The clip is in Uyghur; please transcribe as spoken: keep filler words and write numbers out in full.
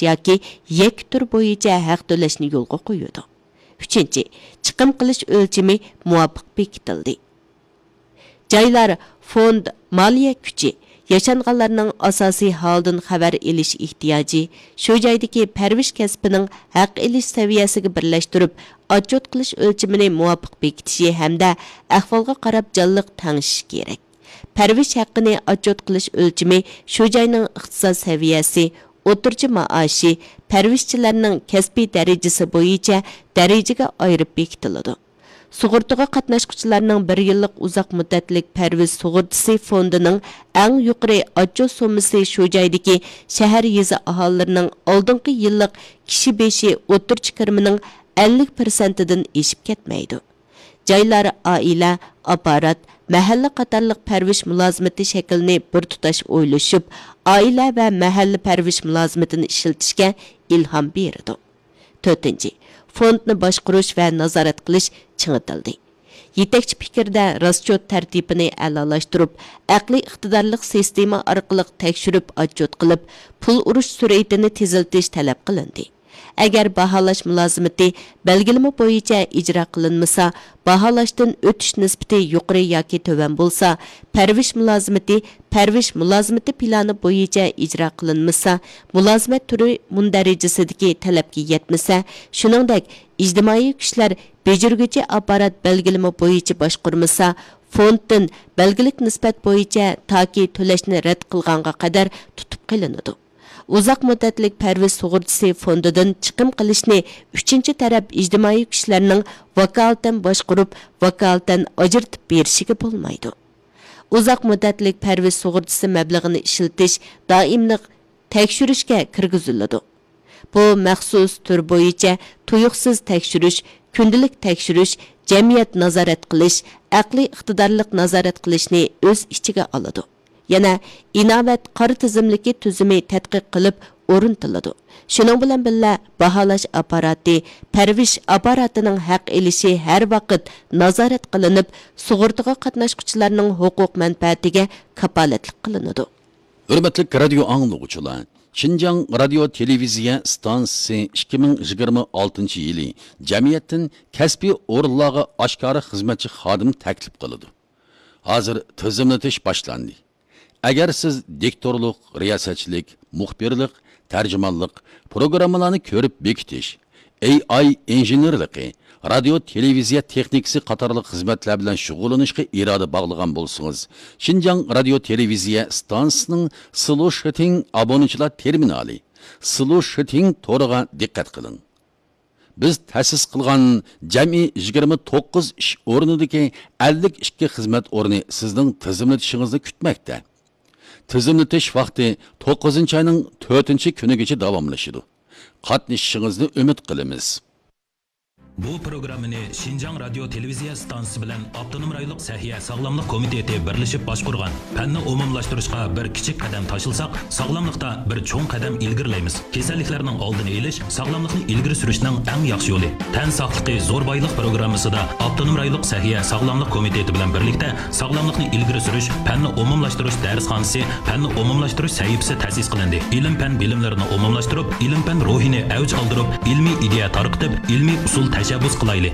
ياكى يەككە تۈر بويىچە ھەق تۆلەشنى يولغا قويىدۇ. ئۈچىنچى، چىقىم قىلىش ئۆلچىمى مۇۋاپىق بېكىتىلدى. جايلار، فوند، مالىيە كۈچى، ياشانغانلارنىڭ ئاساسىي ھالدىن خەۋەر ئېلىش ئېھتىياجى، شۇ جايدىكى پەرۋىش كەسپىنىڭ ھەق ئېلىش سەۋىيەسىگە بىرلەشتۈرۈپ، ئاتچوت قىلىش ئۆلچىمىنى مۇۋاپىق بېكىتىشى ھەمدە ئەھۋالغا قاراپ جانلىق تەڭشىشى كېرەك. پەرۋىش ھەققىنى ئاتچوت قىلىش ئۆلچىمى شۇ جاينىڭ ئىقتىساد سەۋىيەسى، ئوتتۇرىچە مائاشى، پەرۋىشچىلەرنىڭ كەسپىي دەرىجىسى بويىچە دەرىجىگە ئايرىپ بېكىتىلىدۇ. سۇغۇرتىغا قاتناشقۇچىلارنىڭ بىر يىللىق ئۇزاق مۇددەتلىك پەرۋىش سۇغۇرتىسى فوندىنىڭ ئەڭ يۇقىرى ئاتچوت سوممىسى شۇ جايدىكى شەھەر، يېزا ئاھالىلىرىنىڭ ئالدىنقى يىللىق كىشى بېشى ئوتتۇرىچە كىرىمىنىڭ ئەللىك پىرسەنتىدىن ئېشىپ كەتمەيدۇ. جايلار ئائىلە، ئاپپارات، مەھەللە قاتارلىق پەرۋىش مۇلازىمىتى شەكلىنى بىر تۇتاش ئويلىشىپ، ئائىلە ۋە مەھەللە پەرۋىش مۇلازىمىتىنى ئىشلىتىشكە ئىلھام بېرىدۇ. تۆتىنچى، فوندنى باشقۇرۇش ۋە نازارەت قىلىش چىڭىتىلدى. يېتەكچى پىكىردە راسچوت تەرتىپىنى ئەلالاشتۇرۇپ، ئەقلىي ئىقتىدارلىق سىستېما ئارقىلىق تەكشۈرۈپ ئاتچوت قىلىپ، پۇل ئۇرۇش سۈرئىتىنى تېزلىتىش تەلەپ قىلىندى. ئەگەر باھالاش مۇلازىمىتى بەلگىلىمە بويىچە ئىجرا قىلىنمىسا، باھالاشتىن ئۆتۈش نىسبىتى يۇقىرى ياكى تۆۋەن بولسا، پەرۋىش مۇلازىمىتى پەرۋىش مۇلازىمىتى پىلانى بويىچە ئىجرا قىلىنمىسا، مۇلازىمەت تۈرى مۇندەرىجىسىدىكى تەلەپكە يەتمىسە، شۇنىڭدەك ئىجتىمائىي كۈچلەر بېجىرگۈچى ئاپپارات بەلگىلىمە بويىچە باشقۇرمىسا، فوندتىن بەلگىلىك نىسبەت بويىچە تاكى تۆلەشنى رەت قىلغانغا قەدەر تۇتۇپ قېلىنىدۇ. ئۇزاق مۇددەتلىك پەرۋىش سۇغۇرتىسى فوندىدىن چىقىم قىلىشنى ئۈچىنچى تەرەپ ئىجتىمائىي كۈچلەرنىڭ ۋاكالىتەن باشقۇرۇپ، ۋاكالىتەن ئاجرىتىپ بېرىشىگە بولمايدۇ. ئۇزاق مۇددەتلىك پەرۋىش سۇغۇرتىسى مەبلىغىنى ئىشلىتىش دائىملىق تەكشۈرۈشكە كىرگۈزۈلىدۇ. بۇ مەخسۇس تۈر بويىچە تۇيۇقسىز تەكشۈرۈش، كۈندىلىك تەكشۈرۈش، جەمئىيەت نازارەت قىلىش، ئەقلىي ئىقتىدارلىق نازارەت قىلىشنى ئۆز ئىچىگە ئالىدۇ. يەنە ئىناۋەت قارا تىزىملىكى تۈزۈمى تەتقىق قىلىپ ئورنىتىلىدۇ. شۇنىڭ بىلەن بىللە، باھالاش ئاپپاراتى، پەرۋىش ئاپپاراتىنىڭ ھەق ئېلىشى ھەر ۋاقىت نازارەت قىلىنىپ، سۇغۇرتىغا قاتناشقۇچىلارنىڭ ھوقۇق مەنپەئەتىگە كاپالەتلىك قىلىنىدۇ. ھۆرمەتلىك رادىيو ئاڭلىغۇچىلار! شىنجاڭ رادىيو تېلېۋىزىيە ئىستانسىسى ئىككى مىڭ يىگىرمە ئالتىنچى يىلى جەمئىيەتتىن كەسپىي ئورۇنلارغا ئاشكارا خىزمەتچى خادىم تەكلىپ قىلىدۇ. ھازىر تىزىملىتىش باشلاندى. ئەگەر سىز دىكتورلۇق، رىياسەتچىلىك، مۇخبىرلىق، تەرجىمانلىق، پروگراممىلارنى كۆرۈپ بېكىتىش، ئېي ئاي ئىنژېنېرلىقى، رادىيو تېلېۋىزىيە تېخنىكىسى قاتارلىق خىزمەتلەر بىلەن شۇغۇللىنىشقا ئىرادە باغلىغان بولسىڭىز، شىنجاڭ رادىيو تېلېۋىزىيە ئىستانسىسىنىڭ سلوشىتىڭ ئابونىچىلار تېرمىنالى، سلوشىتىڭ تورىغا دىققەت قىلىڭ. بىز تەسىس قىلغان جەمئىي يىگىرمە توققۇز ئىش ئورنىدىكى ئەللىك ئىككى خىزمەت ئورنى سىزنىڭ تىزىملىتىشىڭىزنى كۈتمەكتە. تىزىملىتىش ۋاقتى توققۇزىنچى ئاينىڭ تۆتىنچى كۈنىگىچە داۋاملىشىدۇ. قاتنىشىشىڭىزنى ئۈمىد قىلىمىز. بۇ پروگراممىنى شىنجاڭ رادىيو تېلېۋىزىيە ئىستانسىسى بىلەن ئاپتونوم رايونلۇق سەھىيە ساغلاملىق كومىتېتى بىرلىشىپ باشقۇرغان. پەننى ئومۇملاشتۇرۇشقا بىر كىچىك قەدەم تاشلىساق، ساغلاملىقتا بىر چوڭ قەدەم ئىلگىرىلەيمىز. كېسەللىكلەرنىڭ ئالدىنى ئېلىش ساغلاملىقنى ئىلگىرى سۈرۈشنىڭ ئەڭ ياخشى يولى. تەن ساقلىقى زور بايلىق پروگراممىسىدا ئاپتونوم رايونلۇق سەھىيە ساغلاملىق كومىتېتى بىلەن بىرلىكتە ساغلاملىقنى ئىلگىرى سۈرۈش، پەننى ئومۇملاشتۇرۇش دەرسخانىسى، پەننى ئومۇملاشتۇرۇش سەھىپىسى تەسىس قىلىندى. ئىلىم-پەن بىلىملىرىنى ئومۇملاشتۇرۇپ، ئىلىم-پەن روھىنى ئەۋج ئالدۇرۇپ، ئىلمىي ئىدىيە تارقىتىپ، ئىلمىي ئۇسۇل تەشەببۇس قىلايلى.